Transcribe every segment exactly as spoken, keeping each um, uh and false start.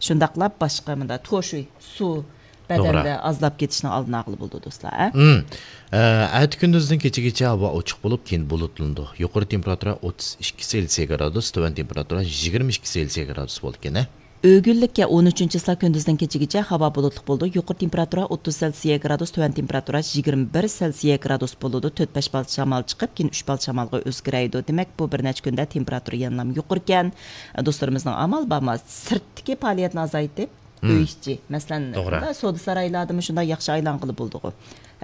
شۇنداقلا باشقا مۇنداق توشۇي سۇ توغرا. بەدەندە ئازلاپ كېتىشنىڭ ئالدىنى ئالغىلى بولىدۇ، دوستلار. ھە؟ مم. ئە، ئەتە كۈندۈزدىن كېچىگىچە ھاۋا ئوچۇق بولۇپ، كېيىن بۇلۇتلىنىدۇ. يۇقىرى تېمپېراتۇرا ئوتتۇز ئىككى سېلسىيە گرادۇس، تۆۋەن تېمپېراتۇرا يىگىرمە ئىككى سېلسىيە گرادۇس بولىدىكەن. ئۆگۈنلۈككە ئون ئۈچىنچى چىسلا كۈندۈزدىن كېچىگىچە ھاۋا بۇلۇتلۇق بولىدۇ. يۇقىرى تېمپېراتۇرا ئوتتۇز سېلسىيە گرادۇس، تۆۋەن تېمپېراتۇرا يىگىرمە بىر سېلسىيە گرادۇس بولىدۇ. تۆت بەش بال شامال چىقىپ، كېيىن ئۈچ بال شامالغا ئۆزگىرەيدۇ. دېمەك، بۇ بىر نەچچە كۈندە تېمپېراتۇرا يەنىلا يۇقىرىكەن. دوستلىرىمىزنىڭ ئامال بارمۇ، سىرتتىكى پائالىيەتنى ئازايتىپ، مم. ئۆي ئىچى، مەسىلەن، توغرا. مۇنداق سودا سارايلاردىمۇ شۇنداق ياخشى ئايلانغىلى بولىدىغۇ.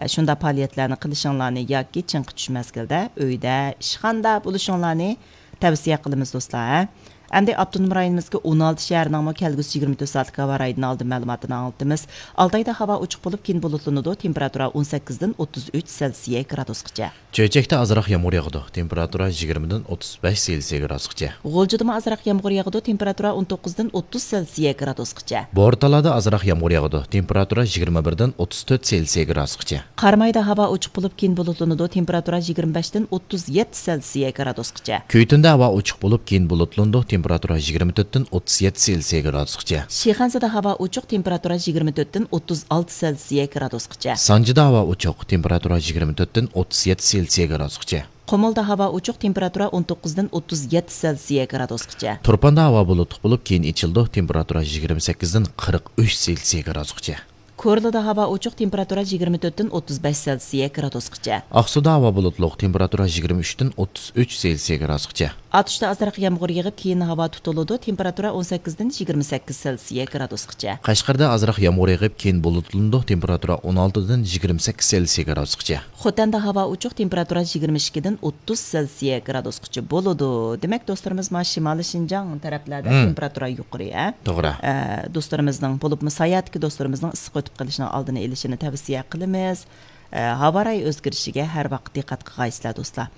ئە، شۇنداق پائالىيەتلەرنى قىلىشىڭلارنى ياكى چىڭقى چۈش مەزگىلدە ئۆيدە، ئىشخانىدا بولۇشۇڭلارنى تەۋسىيە قىلىمىز، دوستلار، ھە. ئەمدى ئاپتونوم رايونىمىزدىكى ئون ئالتە شەھەرنىڭمۇ كەلگۈسى يىگىرمە تۆت سائەتلىك ھاۋا رايىدىن ئالدىن مەلۇماتىنى ئاڭلىتىمىز. ئالتايدا ھاۋا ئوچۇق بولۇپ، كېيىن بۇلۇتلىنىدۇ. تېمپېراتۇرا ئون سەككىزدىن ئوتتۇز ئۈچ سېلسىيە گرادۇسقىچە. چۆچەكتە ئازراق يامغۇر ياغىدۇ. تېمپېراتۇرا يىگىرمىدىن ئوتتۇز بەش سېلسىيە گرادۇسقىچە. غۇلجىدىمۇ ئازراق يامغۇر ياغىدۇ. تېمپېراتۇرا ئون توققۇزدىن ئوتتۇز سېلسىيە گرادۇسقىچە. بورتالادا ئازراق يامغۇر ياغىدۇ. تېمپېراتۇرا يىگىرمە بىردىن ئوتتۇز تۆت سېلسىيە گرادۇسقىچە. قارامايدا ھاۋا ئوچۇق بولۇپ، كېيىن بۇلۇتلىنىدۇ. تېمپېراتۇرا يىگىرمە بەشتىن ئوتتۇز يەتتە سېلسىيە گرادۇسقىچە. كۈيتۈندە ھاۋا ئوچۇق بولۇپ، كېيىن بۇلۇتلىنىدۇ. تېمپېراتۇرا يىگىرمە تۆتتىن ئوتتۇز يەتتە سېلسىيە گرادۇسقىچە. شىخەنزىدە ھاۋا ئوچۇق، تېمپېراتۇرا يىگىرمە تۆتتىن ئوتتۇز ئالتە سېلسىيە گرادۇسقىچە. سانجىدا ھاۋا ئوچۇق، تېمپېراتۇرا يىگىرمە تۆتتىن ئوتتۇز يەتتە سېلسىيە گرادۇسقىچە. قۇمۇلدا ھاۋا ئوچۇق، تېمپېراتۇرا ئون توققۇزدىن ئوتتۇز يەتتە سېلسىيە گرادۇسقىچە. تۇرپاندا ھاۋا بۇلۇتلۇق بولۇپ، كېيىن ئېچىلىدۇ، تېمپېراتۇرا يىگىرمە سەككىزدىن قىرىق ئۈچ سېلسىيە گرادۇسقىچە. كورلىدا ھاۋا ئوچۇق، تېمپېراتۇرا يىگىرمە تۆتتىن ئوتتۇز بەش سېلسىيە گرادۇسقىچە. ئاقسۇدا ھاۋا بۇلۇتلۇق، تېمپېراتۇرا يىگىرمە ئۈچتىن ئوتتۇز ئۈچ سېلسىيە گرادۇسقىچە. ئاتۇشتا ئازراق يامغۇر يېغىپ، كېيىن ھاۋا تۇتۇلىدۇ، تېمپېراتۇرا ئون سەككىزدىن يىگىرمە سەككىز سېلسىيە گرادۇسقىچە. قەشقەردە ئازراق يامغۇر يېغىپ، كېيىن بۇلۇتلىنىدۇ، تېمپېراتۇرا ئون ئالتىدىن يىگىرمە سەككىز سېلسىيە گرادۇسقىچە. خوتەندە ھاۋا ئوچۇق، تېمپېراتۇرا يىگىرمە ئىككىدىن ئوتتۇز سېلسىيە گرادۇسقىچە بولىدۇ. دېمەك، دوستلىرىمىز، مانا شىمالىي شىنجاڭ تەرەپلەردە مم. تېمپېراتۇرا يۇقىرى، ھە؟ توغرا. ئە، دوستلىرىمىزنىڭ، بولۇپمۇ ساياھەتتىكى دوستلىرىمىزنىڭ ئىسسىق ئۆتۈپ قېلىشىنىڭ ئالدىنى ئېلىشىنى تەۋسىيە قىلىمىز. ئە، ھاۋا رايى ئۆزگىرىشىگە ھەر ۋاقىت دىققەت قىلغايسىلەر، دوستلار.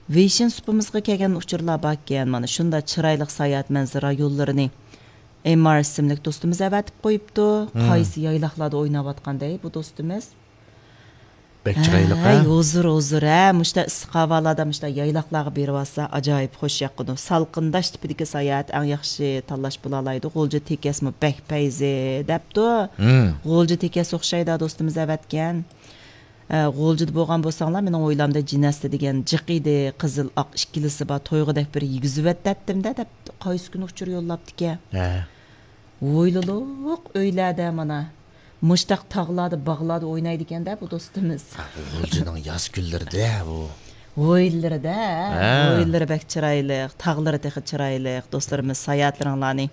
ۋېيشىن سۇپىمىزغا كەلگەن ئۇچۇرلار باركەن، مانا شۇنداق چىرايلىق ساياھەت مەنزىرە رايونلىرىنى ئېم ئار ئىسىملىك دوستىمىز ئەۋەتىپ قويۇپتۇ. مم. قايسى يايلاقلاردا ئويناۋاتقاندەي بۇ دوستىمىز؟ بەك چىرايلىق، ھەي، ھە؟ ھۇزۇر، ھۇزۇر، ھە، مۇشتا ئىسسىق ھاۋالاردا مۇشتا يايلاقلارغا بېرىۋالسا ئاجايىپ خوش ياقىدۇ. سالقىنداش تىپىدىكى ساياھەت ئەڭ ياخشى تاللاش بولالايدۇ. غۇلجا تېكەسمۇ بەك پەيزى دەپتۇ. مم. غۇلجا تېكەس ئوخشايدۇ دوستىمىز ئەۋەتكەن. ئە، غۇلجىدا بولغان بولساڭلار، مېنىڭ ھويلامدا جىنەستە دېگەن جىق ئىدى، قىزىل ئاق ئىككىلىسى بار، تويغۇدەك بىر يېگۈزۈۋەتتەتتىم-دە دەپ، قايسى كۈنى ئۇچۇر يوللاپتىكەن. ھە. ھويلىلىق ئۆيلەردە مانا مۇشتاق تاغلاردا، باغلاردا ئوينايدىكەن-دە بۇ دوستىمىز. غۇلجىنىڭ ياز كۈنلىرىدە بۇ. ھويلىلىرىدە، ھە. ھويلىلىرى بەك چىرايلىق، تاغلىرى تېخى چىرايلىق. دوستلىرىمىز، ساياھەتلىرىڭلارنى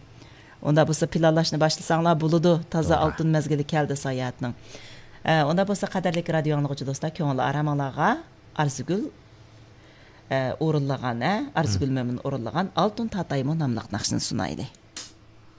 ئۇنداق بولسا پىلانلاشنى باشلىساڭلار بولىدۇ. تازا توغرا. ئالتۇن مەزگىلى كەلدى ساياھەتنىڭ. ئە، ئۇنداق بولسا قەدىرلىك رادىيو ئاڭلىغۇچى دوستلار، كۆڭۈل ئارامىڭلارغا ئارزۇگۈل، ئە، ئورۇنلىغان، ئە، ئارزۇگۈل مم. مۆمىن ئورۇنلىغان ئالتۇن تاتايمۇ ناملىق ناخشىنى سۇنايلى.